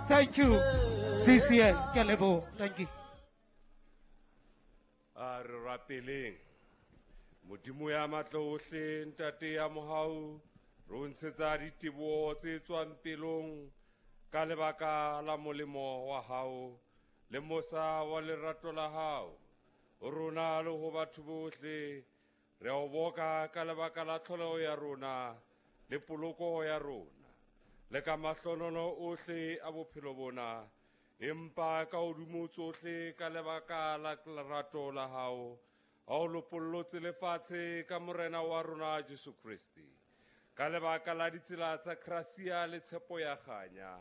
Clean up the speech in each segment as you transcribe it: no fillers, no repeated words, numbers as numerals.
Thank you, CCN. Ke a leboha. Thank you. A re rapeleng. Modimo ya matla ohle, Ntate ya mohau, re o ntshetsa diteboho tse tswang pelong ka lebaka la molemo wa hao le mosa wa lerato la hao ho rona le ho batho bohle. Re a o boka ka lebaka la tlholeho ya rona le poloko ya rona le ka mahlonono ohle a bophelo bona, empa ka hodimo tsohle ka lebaka la lerato la hao ha o lopollotse lefatshe ka Morena wa rona Jesu Kreste. Ka lebaka la ditsela tsa gracia le tshepo ya kganya,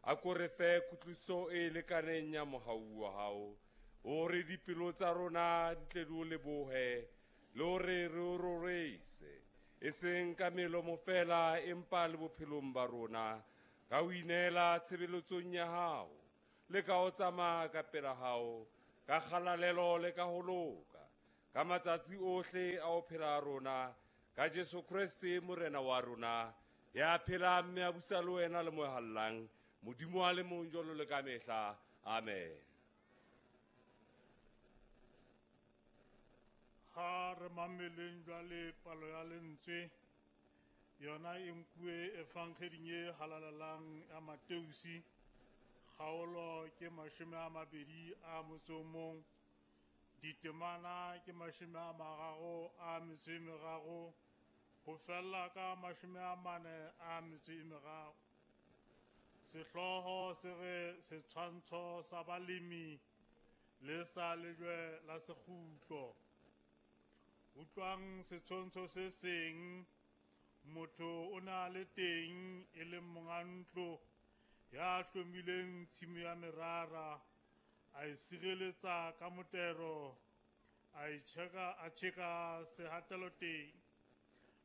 a ko re fe kutlwiso e lekaneng ya mohau wa hao, hore dipelo tsa rona di tle di o lebohe le hore re o rorise, e seng ka melomo feela empa le bophelong ba rona, ka ho ineela tshebeletsong ya hao le ka ho tsamaya ka pela hao ka kgalalelo le ka ho loka ka matsatsi ohle a ho phela a rona, ka Jesu Kreste Morena wa rona, ya phelang mme a busa le wena le mohallang, Modimo a le mong jwalo le ka mehla. Amen. Ha re mameleng jwale palo ya lentswe, yona e nkuwe evangeling e halalelang ya Mateusi, kgaolo ke 21, ditemana ke 33 ho fella ka 43. Sehlooho se re setshwantsho sa balemi le sa lejwe la sekgutlo. Utlwang setshwantsho se seng, motho o na le teng e leng monga ntlo ya hlomileng tshimo ya merara, a e sireletsa ka motero, a e tjheka, a tjheka sehatelo teng,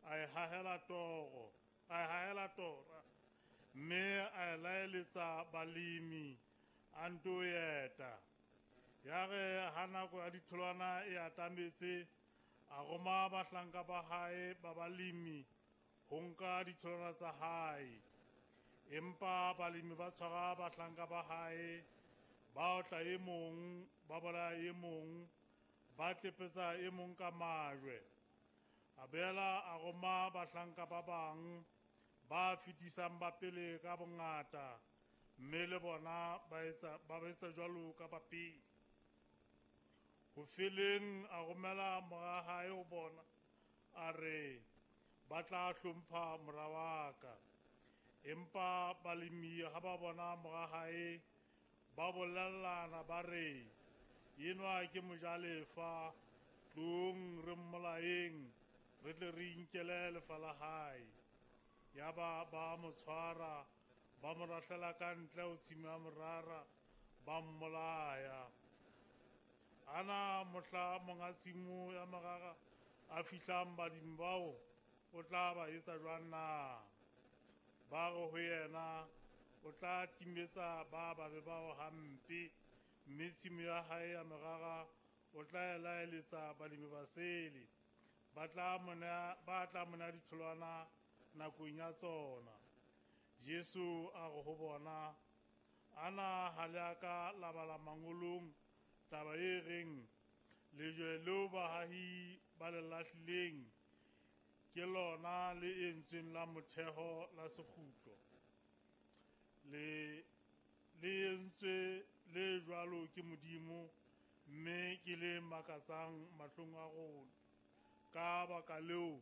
a e hahela toro, a e hahela tora, mme a e laeletsa balemi a nto eta. Ya re ha nako ya ditholwana e atametse, a roma bahlanka ba hae ba balemi ho nka ditholwana tsa hae. Empa balemi ba tshwara bahlanka ba hae, ba otla e mong, ba bolaya e mong, ba tlepetsa e mong ka majwe. A boela a roma bahlanka ba bang ba fetisang ba pele ka bongata, mme le bona ba etsa jwalo ka ba pele. Ho feleng a romela mora hae ho bona, a re, ba tla hlompha mora wa ka. Empa balemi ha ba bona mora hae, ba bolellana ba re, enwa ke mojalefa, tlong re mmolayeng, re tle re inkele lefa la hae. Yaba ba mo tshwara, ba mo lahlela ka ntle ho tshimo ya morara, ba mmolaya. Ana mohla monga tshimo ya morara a fihlang badimo bao, o tla ba etsa jwang na? Ba re ho yena, o tla timetsa ba babe bao hampe, mme tshimo ya hae ya merara o tla e laeletsa balemi basele, ba tla mo nea ditholwana nakong ya tsona. Jesu a re ho bona, ana ha le a ka la bala mangolong taba e reng, lejwe leo bahahi ba le lahlileng ke lona le entsweng la motheo la sekgutlo, le entswe le jwalo ke Modimo, mme ke le makatsang mahlong a rona. Ka baka leo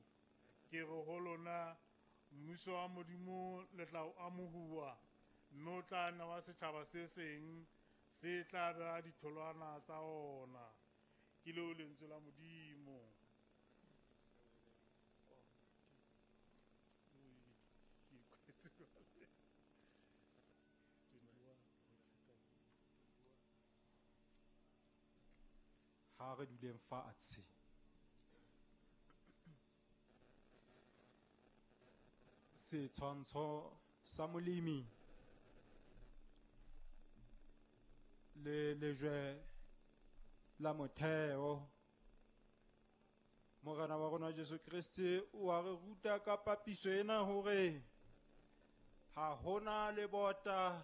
ke re ho lona, mmuso wa Modimo le tla o amohuwa, mme o tla newa setjhaba se seng se tla beha ditholwana tsa ona. Ke leo lentswe la Modimo. Ha re duleng fatshe. Setshwantsho sa molemi le lejwe la motheo. Morena wa rona Jesu Kreste o a re ruta ka papiso ena hore ha hona lebota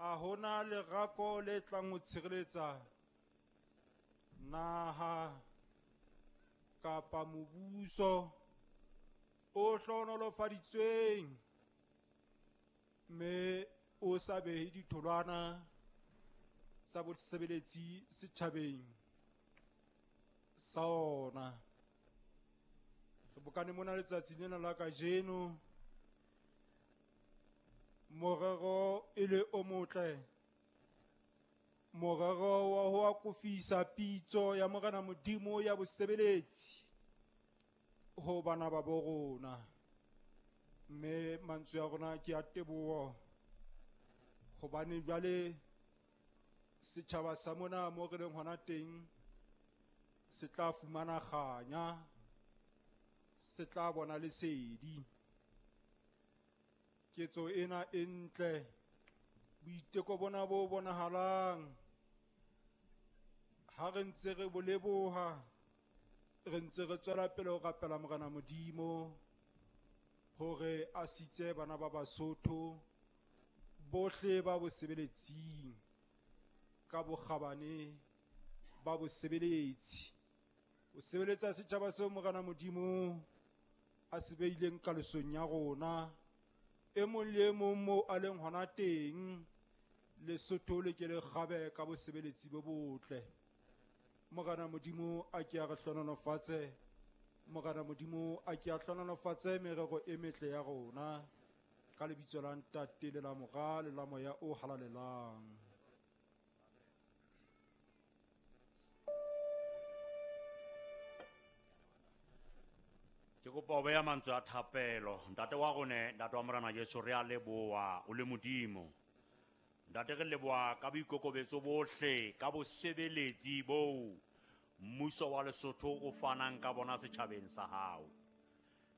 A hona lerako le tlang ho tshireletsa naha kapa mobuso o hlohonolofaditsweng mme o sa behe ditholwana tsa bosebeletsi setjhabeng sa ona. Re bokane mona letsatsi lena la kajeno, morero e le o motle, morero wa ho akofisa pitso ya Morena Modimo ya bosebeletsi ho bana ba bo rona. Mme mantswe a rona ke a teboho, hobane jwale setjhaba sa mona mo re leng hona teng se tla fumana kganya, se tla bona lesedi. Ketso ena e ntle, boiteko bona bo bonahalang, ha re ntse re bo leboha, re ntse re tswela pele ho rapela Morena Modimo hore a sitse bana ba Basotho bohle ba bosebeletsing ka bokgabane ba bosebeletsi, o sebeletsa setjhaba seo Morena Modimo a se beileng kalosong ya rona. E mong le e mong moo a leng hona teng, Lesotho le ke le kgabe ka bosebeletsi bo botle. Morena Modimo a ke a re hlohonolofatse, Morena Modimo a ke a hlohonolofatse merero e metle ya rona, ka lebitso la Ntate le la Mora le la Moya o Halalelang. Ke kopa ho beha mantswe a thapelo. Ntate wa rona, Ntate wa Morena Jesu, re a leboha o le Modimo. Ntate, re leboha ka boikokobetso bohle, ka bosebeletsi boo mmuso wa Lesotho o fanang ka bona setjhabeng sa hao.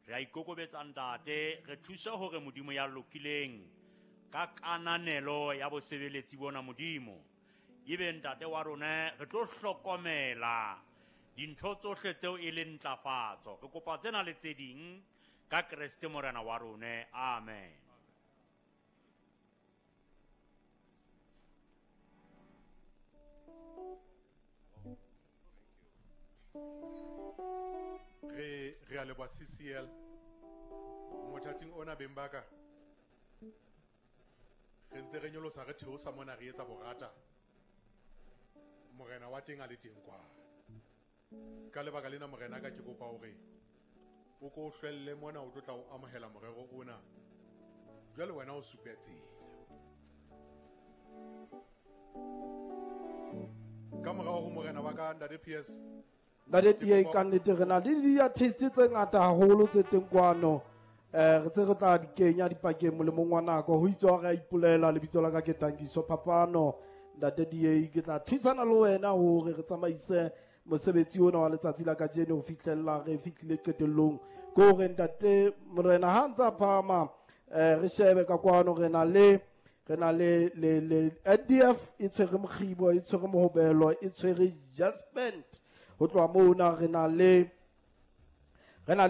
Re a ikokobetsa Ntate, re thuse hore Modimo ya lokileng ka kananelo ya bosebeletsi bona Modimo. Ebe Ntate wa rona, re tlo hlokomela dintho tsohle tseo e leng ntlafatso. Re kopa tsena le tse ding ka Kreste Morena wa rona. Amen. Re a leboha CCL mothating ona beng ba ka. Re ntse re nyolosa re theosa mona re etsa borata. Morena wa teng a le teng kwa. Ka lebaka lena morena ka ke kopa hore o ko hlwelle mona o tlo tla o amohela morero ona. Jwale wena o supe tsela. Ka morao ho morena wa ka Ntate PS. Ntate PA, ka nnete re na le di-artist tse ngata haholo tse teng kwano. Re tse re tla di kenya dipakeng molemong wa nako. Ho itswa re a ipolela, lebitso la ka ke Tankiso Phapano. Ntate DA, ke tla thusana le wena hore re tsamaise mosebetsi ona wa letsatsi la kajeno ho fihlella re fihlile qetellong. Ke hore Ntate Morena ha ntsa phahama, re shebe ka kwano, re na le NDF e tshwere mokgibo, e tshwere mohobelo, e tshwere Jasper. Ho tloha mona re na le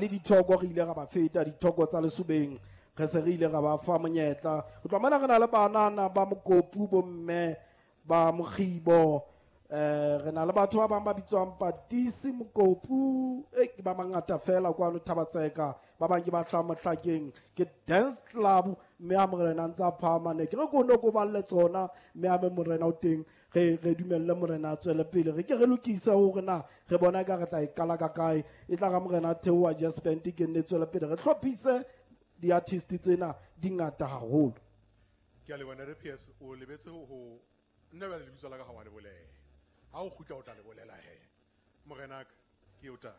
dithoko, re ile ra ba feta dithoko tsa Lesobeng, re se re ile ra ba fa monyetla. Ho tloha mona re na le banana ba Mokopu, bomme ba mokgibo, re na le batho ba bang ba bitswang Patisi Mokopu, ke ba mangata fela kwano Thabatseka, ba bang ke ba hlahang Mohlakeng, ke dance club. Mme ha morena ntse a phahama, ne ke re ko no ko balle tsona, mme ha morena o teng, re dumelle morena a tswele pele, re ke re lokise hore na re bona ka re tla e qala ka kae. E tla ra morena theoha Jasper ke nne tswele pele, re hlophise di-artist tsena di ngata haholo. Ke a leboha Ntate PS, o lebetse ho nna bjale lebitso la ka ga wa le bolela. Ha o kgutla o tla le bolela he. Morenaka, ke o tla.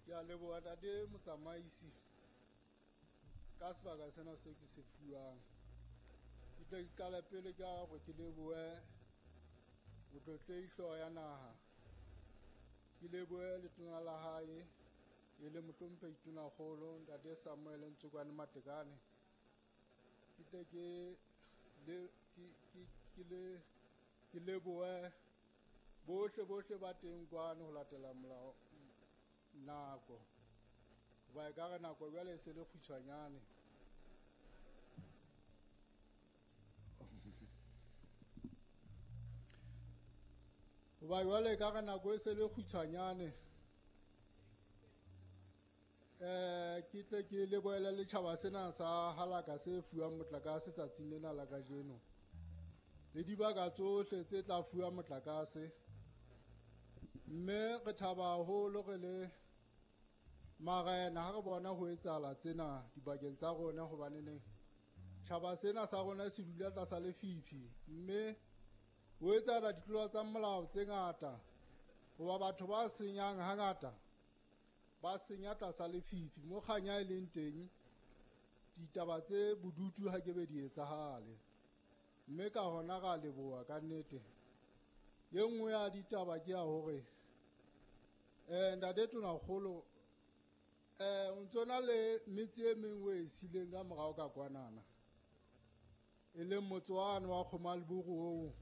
Ke a leboha Ntate Motsamaisi ka sebaka sena seo ke se fuwang. Ke tle ke qale pele ka hore ke lebohe motlotlehi hlooho ya naha, ke lebohe letona la hae e le mohlomphehi Tonakgolo Ntate Samuel Ntsokwane Matekane. Ke tle ke lebohe bohle ba teng kwano ho latela molao nako. Hoba ekare nako jwale e se le kgutshwanyane. Hoba jwale ekare nako e se le kgutshwanyane. Ke tle ke lebohele letjhaba sena sa Halaka se fuwang motlakase tsatsing lena la kajeno. Le dibaka tsohle tse tla fuwa motlakase. Mme re thaba haholo re le marena ha re bona ho etsahala tsena dibakeng tsa rona, hobaneneng tjhaba sena sa rona se dula tlasa lefifi, mme ho etsahala ditlolo tsa molao tse ngata, hoba batho ba senyang hangata ba senya tlasa lefifi. Mo kganya e leng teng, ditaba tse bodutu ha ke be di etsahale, mme ka hona ra leboha ka nnete. E nngwe ya ditaba ke ya hore ntate Tonakgolo, o ntso na le metse e meng o e sileng ka morao ka kwanana, e leng motse wane wa Kgomaleburu oo.